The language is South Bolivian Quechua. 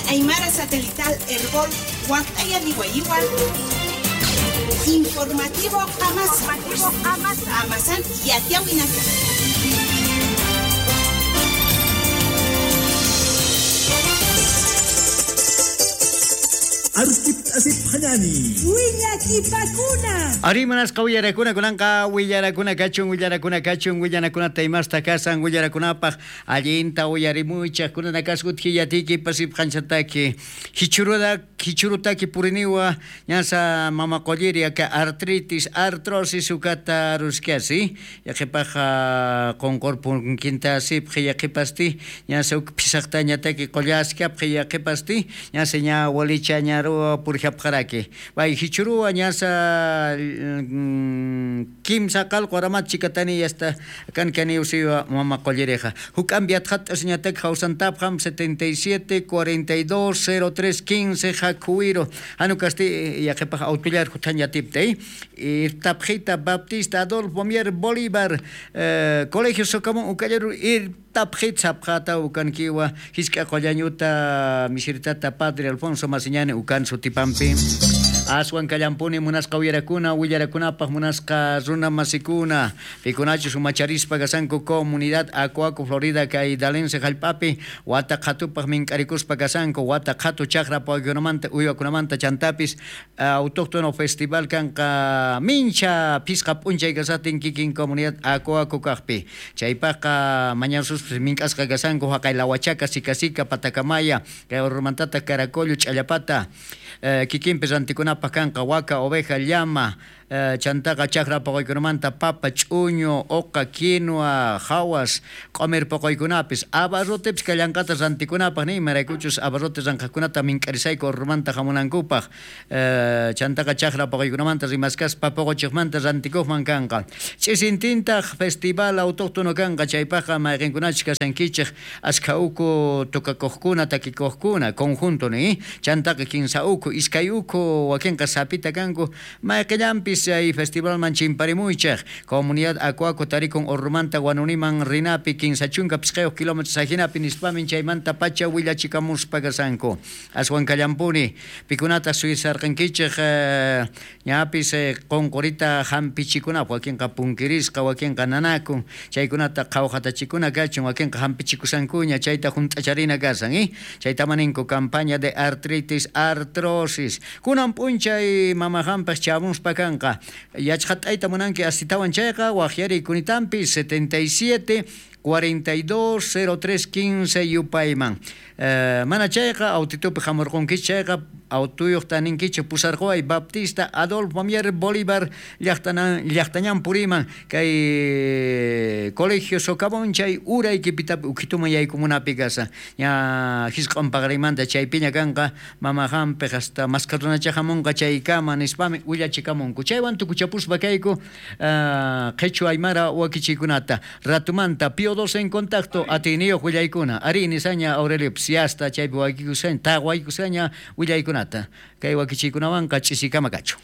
Aymara Satelital Herbol Huactayaniwayiwa Informativo Amasa Amasan Yatiawinaka. Ari manasqa willarakuna kunanqa willarakuna kachun willarakuna kachun willanakunata imasta kasan willarakunapaq allinta uyarimuychaq kunana kasqut hillatiki pasipqanchataki hichuruda hichurutaki puriniwa ñasa mama qolliri aka artritis artrosis ukata ruskiasi yaqipaq qunqurpunkinta sipqi yaqipasti ñasa uk pisaqtañataki qollaskapqi yaqipasti ñasa ña walicha ñaruwa purjapqaraki bay hichuruwa ñasa kimsa qalqu aramat chikatani yasta kankani usiwa mama qolliriqa huk ambiatqat ñatak hawsantapqam 77 42 03 15 jakuwiro hanukasti yaqipaq autollar hutanyatiptay irtapjita Baptista Adolfo Mier Bolívar Colegio Socamón ukallaru irtapjit sapqata ukankiwa hisk'a qollañuta misirtata Padre Alfonso Masiñani ukan sutipampi Aswan kallampuni munasqa willarakuna willarakunapaq munasqa runa masikuna pikunachus umacharispa kasanku comunidad Acuaco Florida kay Dalense jallp'api wata qhatupaq mink'arikuspa kasanku wata qhatu chaqra pawaykunamanta uywakunamanta chantapis autóctono festival kanqa mincha phisqa p'unchay kasatin kikin comunidad Acuaco kaqpi chaypaqqa mañansuspis mink'asqa kasanku haqay Lahuachaca Sicasica Patacamaya kay Urmantata Caracollo Ch'allapata kikinpi rantikunapaq kanqa waka oveja llama chantaqa chaqra poqoykunamanta papa ch'uñu uqa quinoa hawas q'umir poqoykunapis abarrotepis kallanqata rantikunapaq ni imaraykuchus abarrote ranqaqkunata mink'arisayku urmanta hamunankupaq chantaqa chaqra poqoykunamanta rimaskaspa poqochiqmanta rantikuqman kanqa ch'isintintaq festival autóctono kanqa chaypaqqa mayqinkunachus kasankichik askha uku tukakuqkuna takikuqkuna conjunto ni chantaqa kinsa uku iskay uku wakinqa sapita kanku mayqillanpis chay festivalman chimparimuychaq comunidad Acuaco tarikun Urmanta Guanuniman rinapi 35 kilómetros ajinapi nispamin chaymanta pacha willachikamuspa kasanku aswan kallampuni pikunata suyasarqankichik ñapis qunqurita hampichikunapaq wakinqa punkirisqa wakinqa nanakun chaykunata qhawqatachikuna kachun wakinqa hampichikusankuña chayta hunt'acharina kasan chayta maninku campaña de artritis artrosis kunan p'unchay mama hampaq chamuspa kanqa yachqat'ayta munanki astitawan chayqa waqyari kunitampi 77 42 03 15 yupayman mana chayqa autitupi hamurqunkichik chayqa autuyuqta ninkichik pusarquway Baptista Adolfo Mier Bolívar llaqtañan puriman kay Colegio Socavón chay uraykipitapi ukituman yaykumunapi kasa ña hisq'un paqarimanta chaypiña kanqa mama hampiq hasta maskarrunacha hamunqa chaykama nispami willachikamunku chaywan tukuchapuspa kayku qhichwa aymara wakichiykunata ratumanta Pío 12 en contacto atiyniyuq willaykuna ari nisaña Aurelio hasta chaypi wakikusaña taqwaykusaña willaykunata kay wakichiykunawanqa ch'isikama kachu.